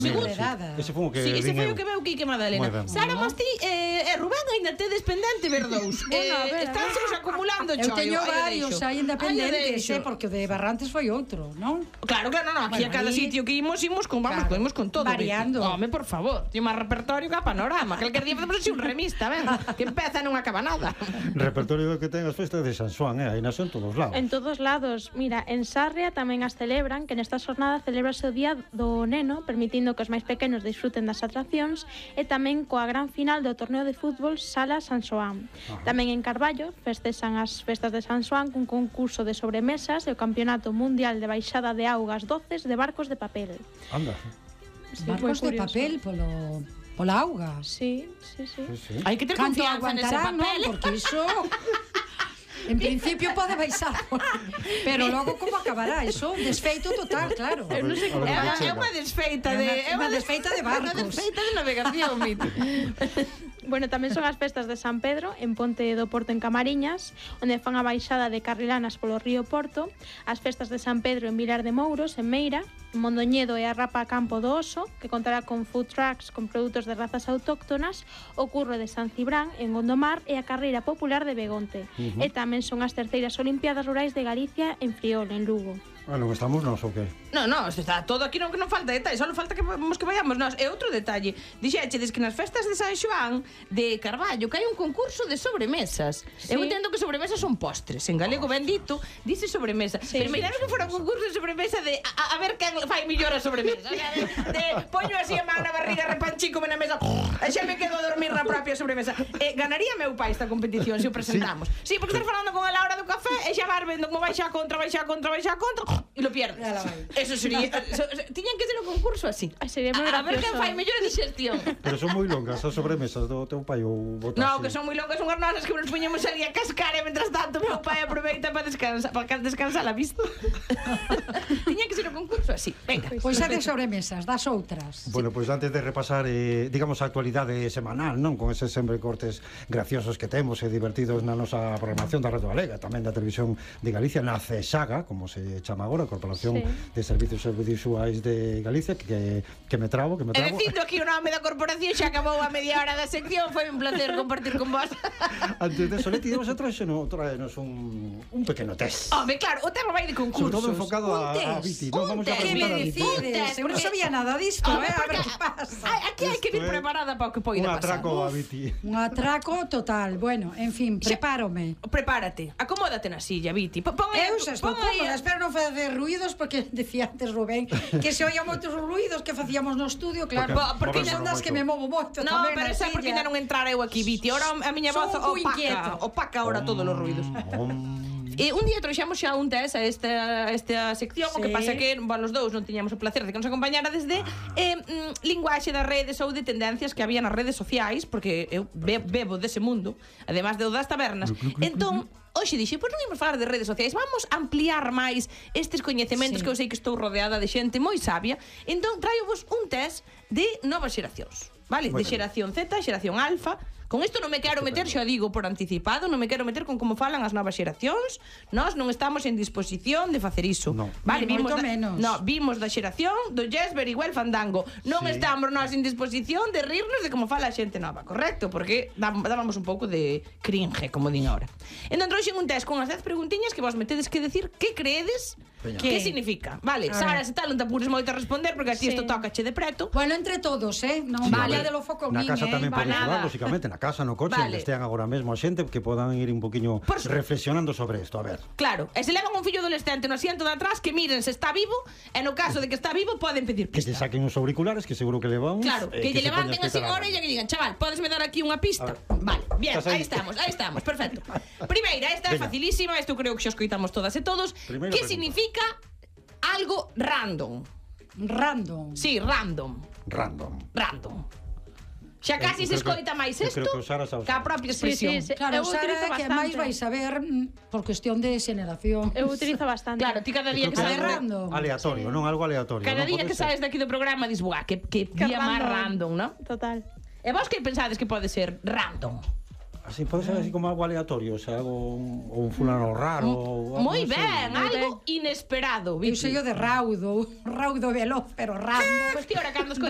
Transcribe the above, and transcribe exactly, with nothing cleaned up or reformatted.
Segundo. Ese foi o que Sí, ese foi o vin eu. que veu Quique Madalena. Sara Mastí e eh, Rubén aínda tedes pendente ver dous. Eh, Estánse acumulando Eu choio. teño aí o varios deixo. aí Aí o independentes, deixo. eh, porque o de Barrantes foi outro, non? Claro, claro, no, no, aquí Bueno, a cada aí- sitio que imos, imos con, vamos, Claro, imos con todo. variando. Home, por favor, tiene máis repertorio que a Panorama. Calquer día facemos así un remista, ven, que empeza e non acaba nada. Repertorio que ten as festas de San Xoán, eh? Aí nas en todos lados. En todos lados. Mira, en Sarria tamén as celebran, que nesta xornada celebrase o Día do Neno, permitindo que os máis pequenos disfruten das atraccións, e tamén coa gran final do torneo de fútbol Sala San Xoán. Ajá. Tamén en Carballo festexan as festas de San Xoán cun concurso de sobremesas e o Campeonato Mundial de Baixada de Augas doces de barcos de papel. Anda. Sí, Barcos moi de curioso. papel polo pola auga. Sí, sí, sí. Sí, sí. Hai que ter Canto confianza nese aguantará, non? papel. Porque iso en principio pode baixar, pero logo como acabará? Iso un desfeito total, claro. Eu non sei como É unha, chega. é unha desfeita É de... unha- é unha desfeita de barcos. Unha desfeita de navegación, mito. Bueno, tamén son as festas de San Pedro en Ponte do Porto en Camariñas, onde fan a baixada de carrilanas polo río Porto, as festas de San Pedro en Vilar de Mouros, en Meira, en Mondoñedo e a Rapa Campo do Oso, que contará con food trucks con produtos de razas autóctonas, o Curro de San Cibrán en Gondomar e a Carreira Popular de Begonte. Uh-huh. E tamén son as terceiras Olimpiadas Rurais de Galicia en Friol, en Lugo. Bueno, estamos nós ou que? No, no, isto está todo aquí, non que non falta detalle, só falta que vamos que vayamos nós. E outro detalle, dixéchedes que nas festas de San Xoán de Carballo que hai un concurso de sobremesas. Sí. Eu entendo que sobremesas son postres, en galego ben dito, dice sobremesa. Sí. Pero imaginaros que fora un concurso de sobremesa de a, a ver quen fai mellor a sobremesa. O sea, de, de poño así a man na barriga, repanchícome na mesa, e xa me quedo a dormir na propia sobremesa. E ganaría meu pai esta competición se o presentamos. Sí, sí, porque estar falando con ela a hora do café e xa vas vendo como vai xa contra, vai xa contra, vai xa contra e lo pierdes. Eso sería, eso, tiñan que ser un concurso así. Ai, sería moi A, a ver quen gracioso. fai mellor a digestión. Pero son moi longas as sobremesas do teu pai ou botas. No, que son moi longas, son as nosas que nos poñemos ali a cascar e mentras tanto meu pai aproveita para descansar, para descansar a vista. Tiña que ser un concurso así. Venga. Pois é de sobremesas, das outras. Bueno, pois antes de repasar, eh, digamos, a actualidade semanal, non? Con eses sempre cortes graciosos que temos e divertidos na nosa programación da Radio Galega, tamén da Televisión de Galicia, na CESAGA, como se chama agora, Corporación Sí. de Servicios Audiovisuais de Galicia, que, que me trabo, que me E trabo. dicindo aquí o nome da corporación xa acabou a media hora da sección. Foi un placer compartir con vos. Antes de Soleti, demos a traernos, traernos un, un pequeno test. Home, claro, o tema vai de concursos. Sobre todo enfocado a, a Viti, non? Vamos a test. Que preguntar me a Viti. decides? Eu non porque- sabía nada disto, Home, eh? A ver porque que pasa. Ai, aquí hai que vir Isto é preparada para o que poida Un pasar. atraco a Viti. Un atraco total. Bueno, en fin, prepárome. Prepárate, acomódate na silla, Viti. Pon aí, Eu xa estou pon aí- cómoda, espero non facer ruidos porque decía antes Rubén que se oía moitos ruidos que facíamos no estudio, claro, Porque- porque son das que me movo moito No, tamén pero na esa porque silla. ainda non entrar eu aquí, Viti. Ahora a miña Son voz un pouco opaca, inquieta. opaca ahora todos os ruidos. Om. E un día trouxemos xa un test a esta, a esta sección, o que Sí. pasa que bueno, os dous non tiñamos o placer de que nos acompañara desde eh, mm, linguaxe das redes ou de tendencias que había nas redes sociais, porque eu be bebo dese mundo, además de o das tabernas. Entón, hoxe dixe, pois non imos falar de redes sociais, vamos a ampliar máis estes coñecementos Sí. que eu sei que estou rodeada de xente moi sabia. Entón, traio-vos un test de novas xeracións, vale? Moi De ben. xeración Z, xeración alfa. Con isto non me quero meter, xa digo por anticipado, non me quero meter con como falan as novas xeracións. Nós non estamos en disposición de facer iso. No. Vale, Ni vimos moito da, menos. no, vimos da xeración do Jesper igual Fandango. Non Sí. estamos nós en disposición de rirnos de como fala a xente nova, correcto? Porque dá- dábamos un pouco de cringe, como din ahora. Entón trouxen un test con as dez preguntiñas que vos metedes que decir que creedes Veña. que ¿Qué? significa. Vale, A Sara, ver. se tal non te apures moito a responder porque a ti Sí. isto tócache de preto. Bueno, entre todos, eh? Non Sí, vale a ver, de lo foco na min, casa eh? tamén Va poden nada. xogar, lógicamente, na casa, no coche, Vale. onde estean agora mesmo a xente, que podan ir un poquinho Por su- reflexionando sobre isto, a ver. Claro, e se levan un fillo adolescente no asiento de atrás, que miren se está vivo, e no caso de que está vivo poden pedir Que se pista. saquen os auriculares, que seguro que levan uns, Claro, eh, que, lle se levanten poñan así a a orella e que digan, chaval, podes me dar aquí unha pista? A ver. Vale, bien, Estás aí. aí estamos, aí estamos, perfecto. Primeira, esta é Venga. facilísima, isto creo que xa escoitamos todas e todos. Primeira Que pregunta. significa algo random? Random. Sí, random, Random. random. Xa casi eu se creo que- escoita máis eu isto creo que o Sara sabe. que a propia Sí, expresión. sí, sí. Claro, Eu Sara utilizo é que bastante. máis vais saber mm, por cuestión de xeración. Eu utilizo bastante. Claro, ti cada día Eu que creo sabes... que é random. aleatorio, non algo aleatorio. Cada non día pode que ser. saes daqui do programa dis, buah, que, que, Que día máis random. random, non? Total. E vos que pensades que pode ser random? Así pode ser así como algo aleatorio, o sea, algo un, ou un fulano raro ou algo Moi así. ben, Moi algo inesperado, Eu Vicky. sei o de raudo, raudo veloz, pero random. Pois ti, ahora cando escoitas